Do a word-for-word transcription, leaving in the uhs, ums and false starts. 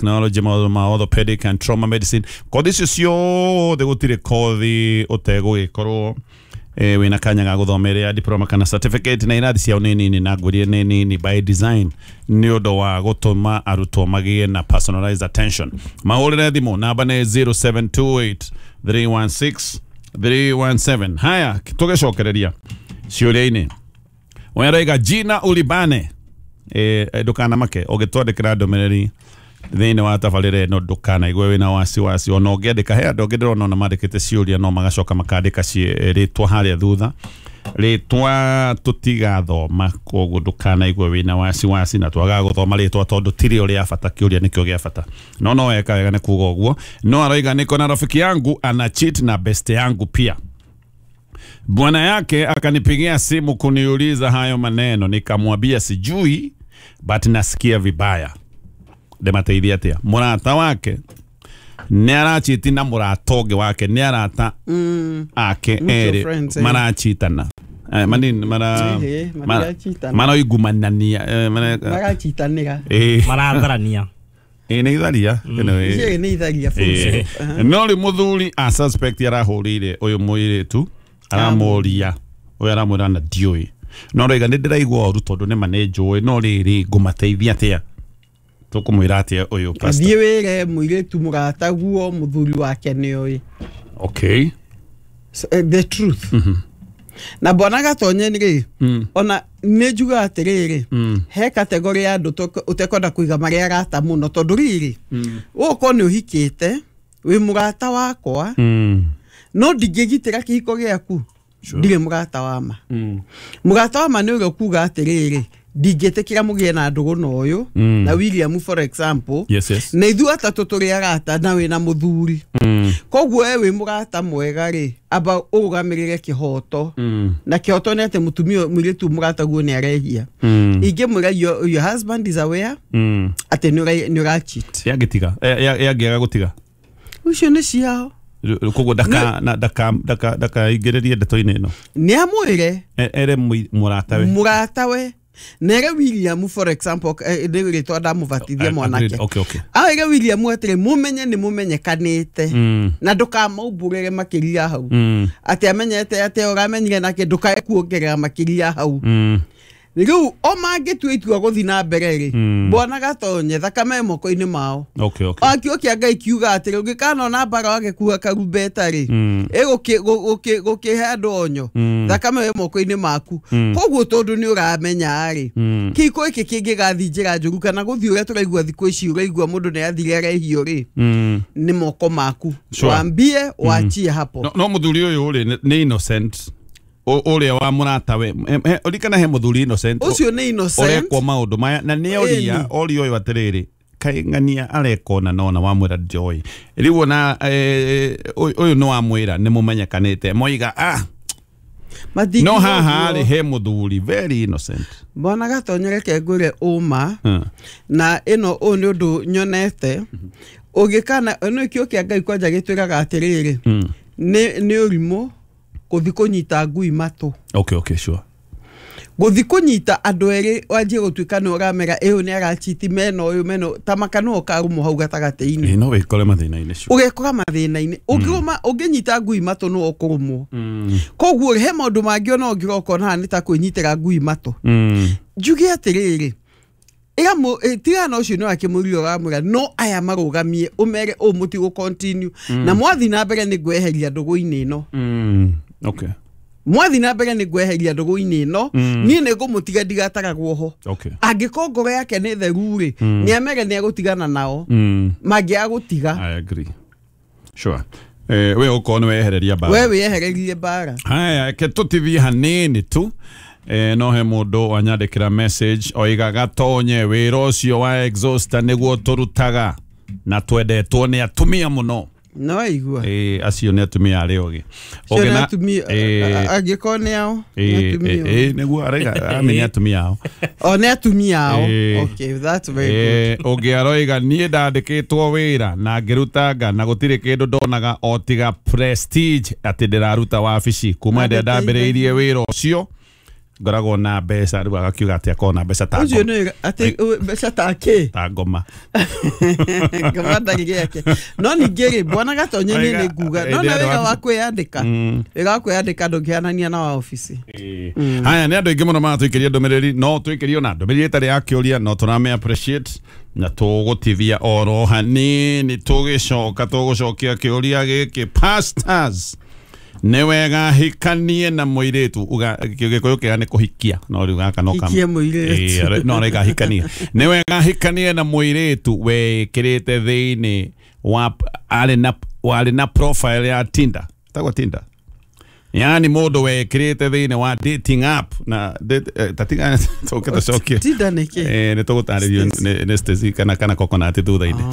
Technology, maũndũ ma orthopedic and trauma medicine. Kothi icio ciothe gũtirĩ kothi ũtegũgĩkorwo eh, wĩna kanya ga gũthoma ĩrĩa ya diploma kana certificate, na irathi ciao nĩ nini na ngũrie nĩ nini by design nĩ ũndũ wa gũtũma arutwo magĩe na personalized attention. Mahũrĩre thimũ, namba nĩ zero seven two eight three one six three one seven. Haya, tũgĩcokereria ciũria-inĩ, weraiga Gina Ulibane, eh, ndũkanamake ũgĩtwandĩkĩra ndũmĩrĩri thĩinĩ wa tabarĩra ĩno, ndũkanaigue wĩna wasiwasi. Ona ũngĩandĩka, he andũ angĩ ndĩrona ona mandĩkĩte ciũria no magacoka makandĩka ci- rĩtwa harĩa thutha, rĩtwa tũtigathoma, koguo ndũkanaigue wĩna wasiwasi na twagaga gũthoma rĩtwa tondũ tirĩ rĩa bata, kĩũria nĩkĩo gĩa bata. No no weka wega nĩ kuga ũguo. No aroiga, "Niko na rafiki yangu ana cheat na best yangu pia. Bwana yake akanipigia simu kuniuliza hayo maneno, nikamwambia sijui, but nasikia vibaya. Ndĩmateithia atĩa?" Mũrata wake nĩ arachiti na mũrata ũngĩ wake, nĩ arata ake Mutual erĩ friends, eh. marachitana. Eh, manini mara Ehe, mara- matirachitana. maroigumanania, eh, mara- Marachitanĩra. eh, Maratharania. Eh, nĩ itharia ĩno, eh. Icio nĩ itharia, full Eh, stop. Aha. No rĩ mũthuri a suspect arahũrĩire ũyũ mũirĩtu aramũria, ũyũ aramwĩra na ndiũĩ, no roiga, "Nĩ ndĩraigua ũru tondũ nĩma nĩ njũĩ, no rĩrĩ ngũmateithia atĩa?" Tũkũmwĩra atĩa ũyũ, pastor? Thiĩ wĩre mũirĩtu mũrataguo mũthuri wake nĩoĩ. okay So, eh, the truth na bwana Gatonye rĩ, ona nĩ njugaga atĩrĩrĩ, he category ya andũ tũk- ũtekwenda kũiga marĩa arata mũno, tondũ rĩrĩ ũgũkorwo nĩ ũhikĩte, wĩ mũrata wakwa, mm. no ndingĩgitĩra kĩhiko gĩaku, ndirĩ mũrata wa ma. Mũrata wa ma nĩ ũrĩa ũkuga atĩrĩrĩ, ndingĩtĩkĩra mũgĩe na ndũgũ na ũyũ Mm. na William, for example, yes yes na ithuĩ atatũ tũrĩ arata na wĩna mũthuri. mm. Koguo we wĩ mũrata mwega rĩ, amba ũrũgamĩrĩre kĩhoto, Mm. na kĩhoto nĩ atĩ mũtumia mũirĩtu mũrataguo nĩ arehia. Mm. Ingĩmwĩra your, your husband is aware Mm. atĩ nĩ ũra- nĩ ũracheat. Yangĩtiga, yangĩaga gũtiga? Ũcio nĩ ciao. Koguo ndaka na- ndaka ndaka ndakaingĩrĩrie ndeto-inĩ ĩno? Nĩ amwĩre. E- ere mũi- mũratawe. Mũratawe nere William, for example, eh, nĩ rĩtwa ndamũbatithia Agreed. mwanake. okay okay Awĩre William atĩrĩ, mũmenye nĩ mũmenyekanĩte mm. na ndũkamaumbũrĩre makĩria hau, Mm. atĩ amenyete atĩ ũramenyire nake, ndũkae kuongerera makĩria hau. Mm. Rĩu o mangĩtua itua gũthiĩ na mbere rĩ, Mm. bwana Gatonye, thakame moko-inĩ mao. okay okay Akio kĩa Ngai kiuga atĩrĩ, ũngĩkanona mbara wage kuga karumbeta rĩ, Mm. ĩgũkĩhe andũ onyo, Mm. thakame ĩ moko-inĩ maku. Mm. Koguo tondũ nĩ ũramenya rĩ, Mm. kĩhiko gĩkĩ kĩngĩgathiĩ njĩra njũru kana gũthiĩ ũrĩa tũraigua thikũ ici, ũraigua mũndũ nĩ athire arehio rĩ, Mm. nĩ moko maku. Sure. Wambie wachie hapo. no, no mũthuri ũyũ rĩ, nĩ- nĩ innocent. Ũ- ũrĩa wa mũratawe, ũrikana he mũthuri innocent Ũcio nĩ innocent. ũrekwo maũndũ maya na nĩ oria. Ĩni. Oria ũyũ atĩrĩrĩ, kaĩ ng'ania areka ona nona wamwĩra njoĩ rĩu ona eh, ũyũ ũyũ nĩ wamwĩra nĩ mũmenyekanĩte, moiga ah Matingiuga no haha ũguo. rĩ, he mũthuri very innocent. Bwana Gatonye, reke ngwĩre ũma, Hmm. na ĩno ũyũ nĩ ũndũ nyonete ũngĩkana ĩno kĩo kĩa Ngai kwanja gĩtwĩraga atĩrĩrĩ, Mm. nĩ nĩ ũrimũ gũthi kũnyita ngui matũ. okay okay sure Gũthi kũnyita andũ erĩ wanjie gũtuĩka nĩ ũramera ĩyo nĩ arachiti mena ũyũ mena ũyũ, ta maka no ũkarũmwo hau gatagatĩ-inĩ. Ĩ, no wĩkore mathĩna-inĩ, sure. Ũgekora mathĩna-inĩ ũngĩrũma, ũngĩnyita ngui matũ no ũkũrũmwo. Mm. Koguo he maũndũ mangĩ ona ũngĩroka ũkona haha nĩ ta kwĩnyitĩra ngui matũ. Mm. Njuge atĩrĩrĩ, ĩra mũ- ĩ, tigana na ũcio nĩ wakĩmũria ũramwĩra, no aya marũgamie ũmere ũũ mũtigũ continue na mwathi na mbere nĩ ngweheria ndũgũ-inĩ ĩno. Mm. okay Mwathi na mbere nĩ ngweheria ndũgũ-inĩ ĩno. Mm. Niĩ nĩ ngũmũtiga ndigataragwo ho. Okay angĩkorwo ngoro yake nĩ theru rĩ, nĩ amere nĩ egũtigana nao, mm. mangĩaga gũtiga. I agree, sure. Eh, we ũkorwo nĩ wehereria mbara. We wĩehererie mbara. Haya, reke tũtithie hanini tu. Eh, no he mũndũ wanyandĩkĩra message oiga, "Gatonye, wĩra ũcio wa exhauster nĩguo tũrutaga na twendetwo nĩ atumia mũno." No aigua. Eh, acio nĩ atumia arĩa ogĩ. Cio nĩ Ũngĩna- atumia. Eh, Angĩkorwo nĩ ao nĩ eh, atumia. eh, eh, nĩguo araiga ami nĩ atumia ao. O nĩ atumia ao. Eh. Okay, that's very good. Eh, ũngĩ aroiga, "Niĩ ndandĩkĩtwo wĩra na ngĩrutanga na gũtirĩ kĩndũ ndonaga o tiga prestige atĩ ndĩraruta wabici. Kuma rĩrĩa ndambĩrĩirie wĩra ũcio Ngoragwo na mbeca rĩu agakiuga atĩ akorwo na mbeca ta Ũcio ngoma. nĩ atĩ mbeca ta kĩ? Ta ngoma. Ngoma ndarĩ gĩake. No ningĩ rĩ, bwana Gatonye, niĩ nĩ nguga no na wĩra wa kwĩyandĩka, wĩra wa kwĩyandĩka ndũngĩhanania na wa obici. Haya, nĩ andũ aingĩ mũno maratũikĩria ndũmĩrĩri, no tũikĩrio na ndũmĩrĩri ĩtarĩ ya kĩũria, no tũrame appreciate na tũgũtithia oro hanini. Tũgĩcoka tũgũcokia kĩũria gĩkĩ: pastors, nĩ wega hikanie na mũirĩtu? Uga Gĩkũyũ kĩega nĩ kũhikia, no rĩu gaka no kam- Hikie mũirĩtu. Ĩĩ, no araiga hikanie. Nĩ wega hikanie na mũirĩtu wĩkĩrĩte thĩinĩ wa arĩ na warĩ na profile ya Tinder, tagwo Tinder, yani mũndũ wekĩrĩte thĩinĩ wa dating app na date- eh, tatiga tũke tũcokie. Tinda nĩ kĩ? Eh, nĩ tũgũtarĩrio nĩ nĩ Stacy kana kana coconut thutha-inĩ.